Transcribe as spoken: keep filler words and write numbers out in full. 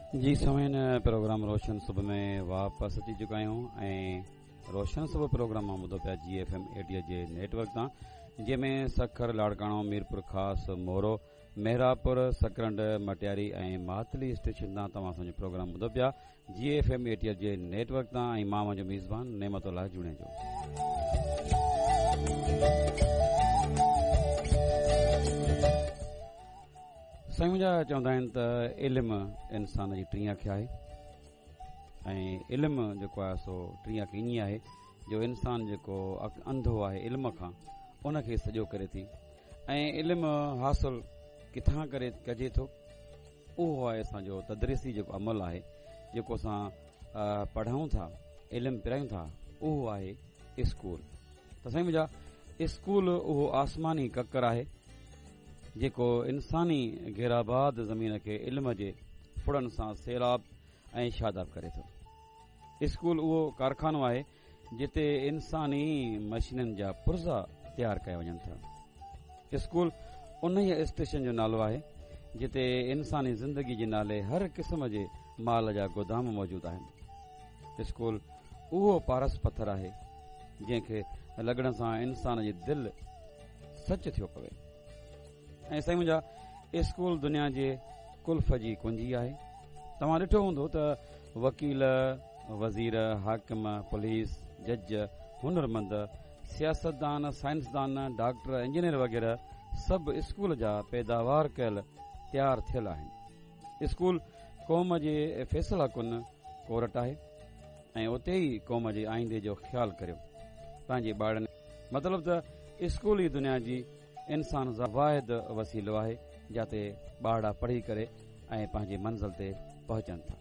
जी सामीन, प्रोग्राम रोशन सुबह में वापस अची चुका आहियूं ऐं रोशन सुबह प्रोग्राम मां ॿुधो पिया जी एफ एम एटीअ जे नेटवर्क तां, जंहिंमें सखर, लाड़काणो, मीरपुर ख़ास, मोरो, मेहरापुर, सकरंड, मटियारी ऐं मातली स्टेशन तां तव्हां असांजो प्रोग्राम ॿुधो पिया जी एफ एम एटीअ जे नेटवर्क तां ऐं मां मुंहिंजो मेज़बान नेमतुल्लाह जुणेजो। साईं मुंहिंजा चवंदा आहिनि त इल्म इंसान जी टीं अख आहे ऐं इल्म जेको आहे सो टीं अख ईअं आहे जो इंसान जेको अंधो आहे इल्म खां उनखे सॼो करे थी ऐं इल्म हासिल किथां करे कजे थो, उहो आहे असांजो तदरीसी जेको अमल आहे, जेको असां पढ़ाऊं था, इल्म पिरायूं था, उहो आहे स्कूल। त साईं मुंहिंजा, स्कूल उहो आसमानी ककर आहे जेको इंसानी गैराबाद ज़मीन खे इल्म जे फुड़नि सां सैलाब ऐं शादाब करे थो। स्कूल उहो कारखानो आहे जिते इंसानी मशीननि जा पुर्ज़ा तयारु कया वञनि था। स्कूल उन स्टेशन जो नालो आहे जिते इंसानी ज़िंदगी जे नाले हर क़िस्म जे माल जा गोदाम मौजूदु आहिनि। स्कूल उहो पारस पथर आहे जंहिंखे लॻण सां इंसान जी दिलि सच थियो पवे। ऐं साईं मुंहिंजा, स्कूल दुनिया जे कुल्फ जी कुंजी आहे। तव्हां ॾिठो हूंदो त वकील, वज़ीर, हाकिम, पुलिस, जज, हुनरमंद, सियासतदान, साइंसदान, डॉक्टर, इंजीनियर वग़ैरह सभु स्कूल जा पैदावार कयल तयारु थियल आहिनि। स्कूल क़ौम जे फ़ैसिला कुन कोरट आहे ऐं उते ई क़ौम जे आईंदे जो ख़्यालु करियो पंहिंजे ॿारनि। मतिलबु त स्कूल ई दुनिया जी इंसान जो वाहिद वसीलो आहे जाते ॿारड़ा पढ़ी करे ऐं पंहिंजी मंज़िल ते पहुचनि था।